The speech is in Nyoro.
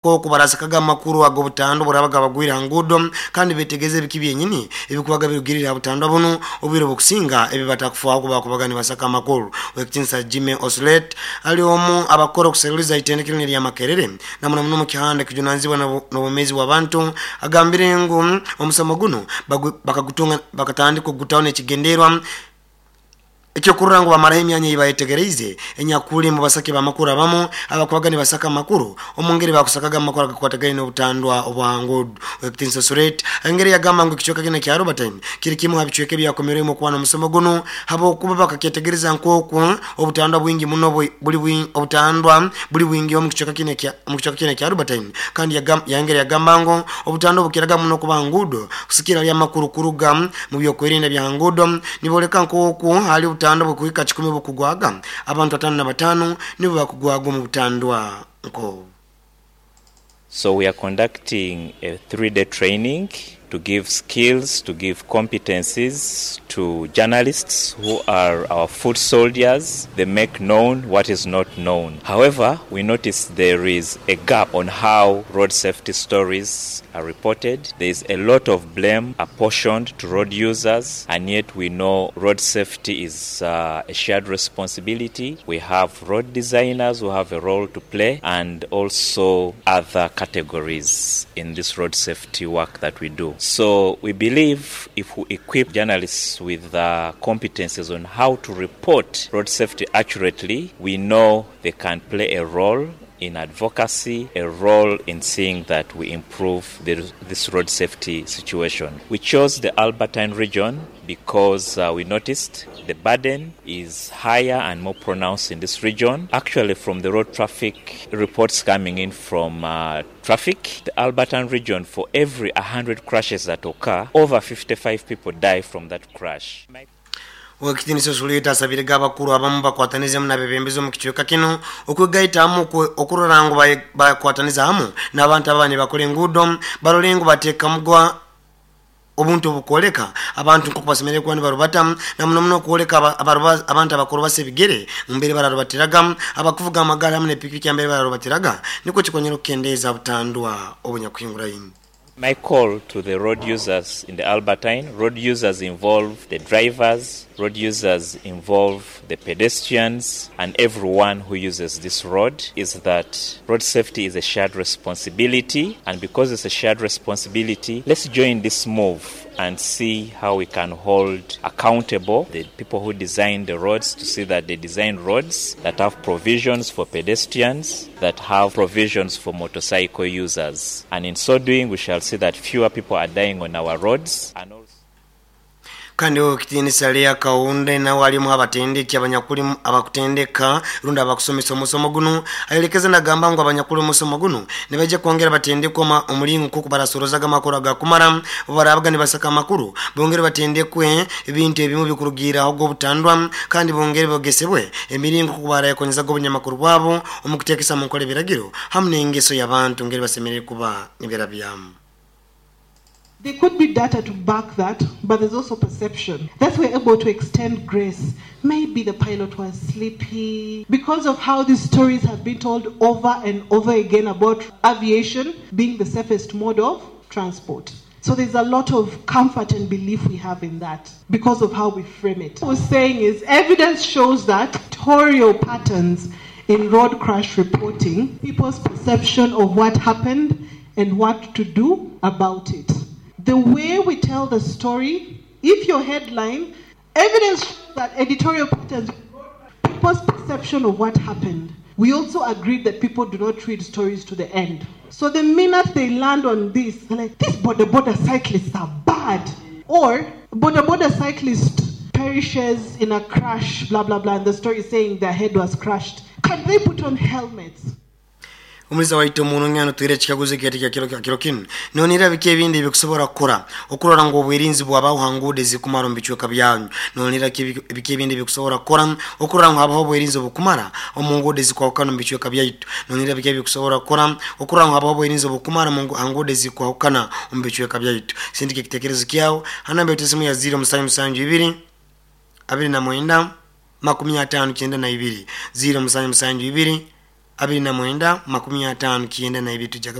Nk'oku barasakaga amakuru ag'obutandwa oburabaga bagwire ha nguudo kandi betegereze ebiki byenyini ebikubaga birugirire ha butandwa bunu obwire obukusinga ebi batakufaaho kubakubaga nibasaka amakuru. Owekitinisa Jimmy Oslet ali omu abakukora okuseruliza itendekero linu erya Makerere na muno muno omu kihanda ekijunanizibwa n'obwomeezi bw'abantu agambire ngu omusomo gunu bakagutunga bakatandika okugutaho n'ekigenderwa Ekyokurora ngu bamaraho emyanya ei bayetegereize enyakuli mu basaki b'amakuru abamu abakubaga nibasaka amakuru omu ngeri baakusakaga amakuru agakwatagaine n'obutandwa obwa ha nguudo. Ow'ekitiinisa Suret ayongera yagamba ngu ekicweka kinu ekya Robertine kiri kimu ha bicweka ebyakomerwemu okuba n'omusomo gunu habwokuba bakakyetegereza nk'oku obutandwa bwingi muno buli obutandwa buli bwingi omu kicweka kinu omu kicweka kinu ekya Robertine kandi yayongera yagamba ngu obutandwa bukiraga muno kuba ha nguudo kusikira hali amakuru kuruga mu by'okwerinda bya ha nguudo Nibooleka nk'oku hali obutandwa obukuhika kikumi obukugwaga, abantu 55 nibo bakugwaga omu butandwa nk'obu. So we are conducting a 3-day training to give skills, to give competencies to journalists who are our foot soldiers, they make known what is not known. However, we notice there is a gap on how road safety stories are reported. There is a lot of blame apportioned to road users, and yet we know road safety is a shared responsibility. We have road designers who have a role to play, and also other categories in this road safety work that we do. So we believe if we equip journalists with the competencies on how to report road safety accurately, we know they can play a role in advocacy, a role in seeing that we improve this road safety situation. We chose the Albertine region because we noticed the burden is higher and more pronounced in this region. Actually, from the road traffic reports coming in from traffic, the Albertine region, for every 100 crashes that occur, over 55 people die from that crash. Owekitinisa Osuliita asabirege abakuru abamu bakwatanizemu n'abebembezi omu kicweka kinu okwegaita hamu okurora ngu bakwataniza hamu n'abantu ababa nibakora enguudo barole ngu bateekamuga obuntu obukwoleka abantu nk'oku basemeriire kuba nibarubata na muno muno okwoleka abantu abakurubasa ebigere mbere bararubatiraga, abakuvuga amagaali hamu n'epikipiki mbere bararubatiraga nikwo kikonyera okukendeeza butandwa obunyakuhinguraine. My call to the road users in the Albertine, road users involve the drivers, road users involve the pedestrians and everyone who uses this road is that road safety is a shared responsibility and because it's a shared responsibility, let's join this move and see how we can hold accountable the people who design the roads to see that they design roads that have provisions for pedestrians, that have provisions for motorcycle users. And in so doing, we shall see that fewer people are dying on our roads. And also Kandi Owekitinisa Leah Kaunde nawe ali omu h'abatendeki abanyakuli abakutendeka rundi abakusomesa omusomo gunu ayolekeze nagamba ngu abanyakuli omusomo gunu nibaija kwongera batendekwe omulingo nk'oku barasorozaga amakuru agakumara obu barabaga nibasaka amakuru bongere batendekwe ebintu ebimu ebikurugiirraho ogw'obutandwa kandi bongere bogesebwe emiringo nk'oku barayekonyezaga obunyamakuru bwabo omu kuteekesa mu nkora ebiragiro hamu n'engeso y'abantu ngeri basemeriire kuba niberabyamu. There could be data to back that, but there's also perception. That's we're able to extend grace. Maybe the pilot was sleepy. Because of how these stories have been told over and over again about aviation being the safest mode of transport. So there's a lot of comfort and belief we have in that because of how we frame it. What we're saying is evidence shows that editorial patterns in road crash reporting, people's perception of what happened and what to do about it. The way we tell the story, if your headline, evidence shows that editorial patterns, people's perception of what happened. We also agreed that people do not read stories to the end. So the minute they land on this, they're like, these boda boda cyclists are bad. Or boda boda cyclist perishes in a crash, blah, blah, blah, and the story is saying their head was crushed. Can they put on helmets? Omuliza waitu omurungi anotwire ekikaguzo ekyaitu ekya kiro kya kiro kinu. Nonihira biki ebindi ebikusobora kukora okurora ngu obwerinzi bwabaho ha nguudo ezikumara omu bicweka byanyu? Nonihira biki ebindi ebikusobora kukora okurora ngu habaho obwerinzi obukumara omu nguudo ezikwahukana omu bicweka byaitu? Nonihira biki ebikusobora kukora okurora ngu habaho obwerinzi obukumara ha nguudo ezikwahukana omu bicweka byaitu? Sindika ekitekerezo kyawe ha namba yaitu esimu ya 0772 29 52 0772 29 59. Tujja.